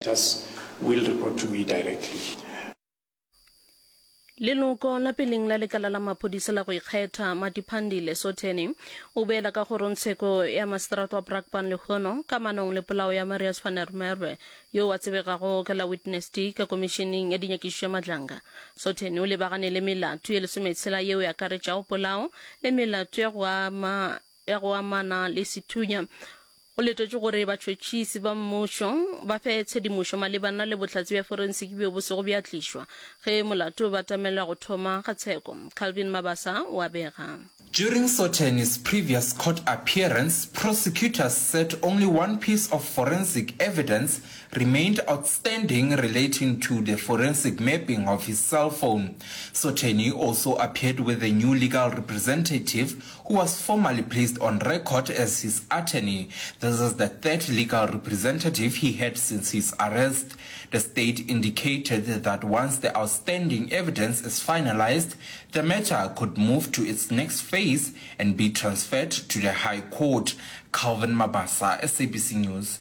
Just will report to me directly. Leloko la peleng la lekala la maphodisa la go ikgetha, Matiphandile Sotheni, o boela ka kgorongtsheko ya maseterata wa Brakpan lehono kamanong le polao ya Marius van der Merwe yo a tsebegago ka la Witness D ka komišeneng ya dinyakišišo ya Madlanga. Sotheni o lebagane le melato ye lesometshela yeo e akaretšago polao le melato ya go ama ya go amana le sethunya. Go letetšwe gore batšhotšhisi ba mmušo ba fe tshedimošo malebana le bohlatse bja forensiki bjo bo sego bja tlišwa ge molato o batamela go thoma ga tsheko. Calvin Mabasa o a bega. During Sotheni's previous court appearance, prosecutors said only one piece of forensic evidence remained outstanding relating to the forensic mapping of his cell phone. Sotheni also appeared with a new legal representative who was formally placed on record as his attorney. This is the third legal representative he had since his arrest. The state indicated that once the outstanding evidence is finalized, the matter could move to its next phase and be transferred to the High Court. Calvin Mabasa, SABC News.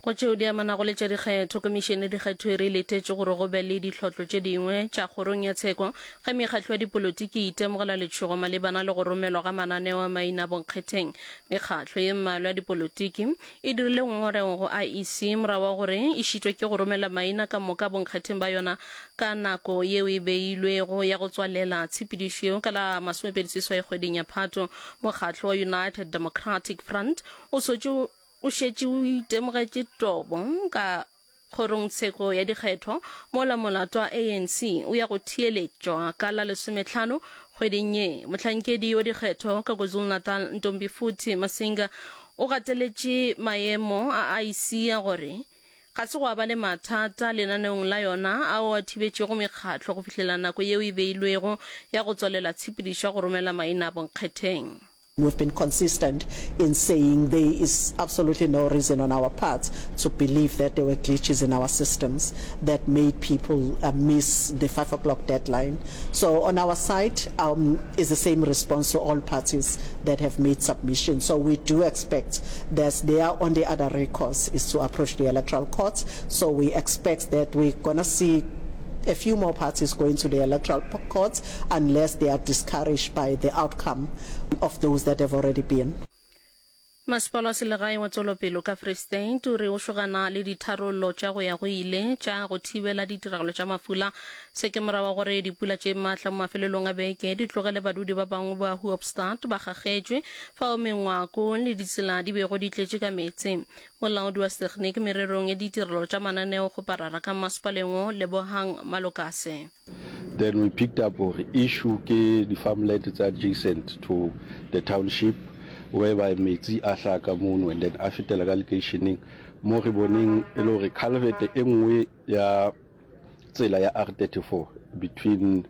Go tšeo di amanago le tša dikgetho, Komišene ya Dikgetho e re e letetše gore go be le ditlhotlo tše dingwe tša kgorong ya tsheko ge mekgatlo ya dipolotiki e itemogela letšhogo malebana le go romelwa ga mananeo a maina a bonkgetheng. Mekgatlo ye mmalwa ya dipolotiki e dirile ngongorego go IEC morago ga gore e šitwe ke go romela maina ka moka a bonkgetheng ba yona ka nako yeo e beilwego ya go tswalela tshepedišo yeo ka la 28 kgweding ya Phato. Mokgatlo wa United Democratic Front o sotše o šetše o itemogetše tobo ka kgorongtsheko ya dikgetho mola molato wa ANC o ya go theeletšwa ka la lesometlhano kgweding ye. Mohlankedi wa dikgetho ka KwaZulu-Natal Ntombifuthi Masinga o gateletše maemo a IEC a gore Ga se gwa ba le mathata lenaneong la yona ao a thibetšego mekgatlo go fihlela nako yeo e beilwego ya go tswalela tshepedišo ya go romela maina a bonkgetheng. We've been consistent in saying there is absolutely no reason on our part to believe that there were glitches in our systems that made people miss the 5 o'clock deadline. So on our side um, is the same response to all parties that have made submissions. So we do expect that their only other recourse is to approach the electoral court. So we expect that we're going to see a few more parties going to the electoral court unless they are discouraged by the outcome of those that have already been. Masepala wa selegae wa Tšwelopelo ka Free State o re o šogana le ditharollo tša go ya go ile tša go thibela ditiragalo tša mafula. Se ke morago ga gore dipula tše maatla mo mafelelong a beke di tlogele badudi ba bangwe ba Hoopstad ba kgakgetšwe fao mengwako le ditsela di bego di tletše ka meetse. Molaodi wa setegniki mererong ya ditirelo tša mananeo kgoparara ka masepaleng wo, Lebohang Malokase. Then we picked up gore issue ke di farmland tse adjacent to the township whereby metsi a hlaha ka mono and then a fetela ka lekeisheneng mo re boneng e le gore culvert e nngwe ya tsela ya R34 between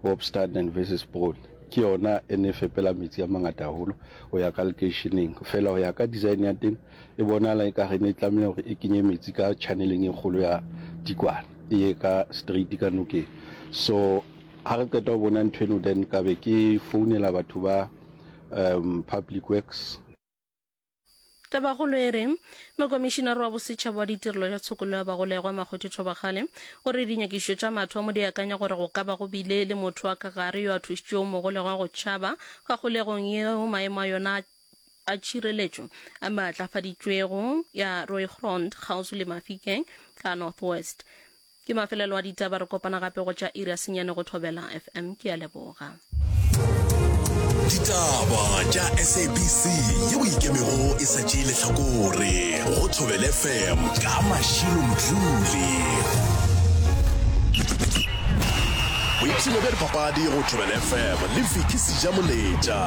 Hoopstad and Wesselsbron ke yona e ne fepela metsi a mangata haholo ho ya ka lekeisheneng. Fela ho ya ka design ya teng e bonala e ka re ne e tlameha hore e kenye metsi ka channeleng e kgolo ya Tikwana e ye ka straight ka nokeng. So ha re qeta ho bona ntho eno then ka be ke founela batho ba um Public Works. Tabakgolo e re, Mokomišinare wa Bosetšhaba wa Ditirelo tša Tshokollo ya Bagolegwa, Makgotho Thobakgale, o re dinyakišišo tša mathomo di akanya gore go ka ba go bile le motho wa ka gare yo a thušitšego mogolegwa go tšhaba ka kgolegong yeo maemo a yona a tšhireletšo a maatlafaditšwego ya Rooigrond kgauswi le Mafikeng ka North West. Ke mafelelo a ditaba, re kopana gape go tša iri ya senyane go Thobela FM. Ke a leboga. Ditaba tša SABC yeo ikemego e sa tšee lehlakore go Thobela FM ka Mashilo Mdluli. Boipshino bja dipapadi go Thobela FM le Vicky Sejamoletša.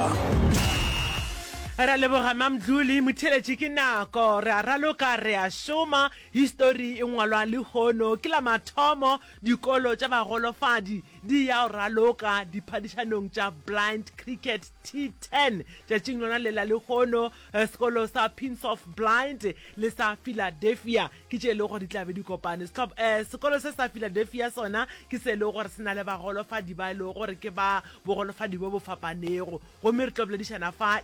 Re a leboga Mamdluli, motheeletši ke nako, re a raloka, re a šoma, histori e ngwalwa lehono, ke la mathomo dikolo tša bagolofadi di ya go raloka diphadišanong tša Blind Cricket T10 tšatšing lona le la lehono, sekolo sa Pins of Blind le sa Philadelphia ke tše e lego gore di tla be di kopane. Sehlop, sekolo se sa Philadelphia sona ke se e lego gore se na le bagolofadi ba e lego gore ke ba bogolofadi bo bo fapanego. Gomme re tlo boledišana fa.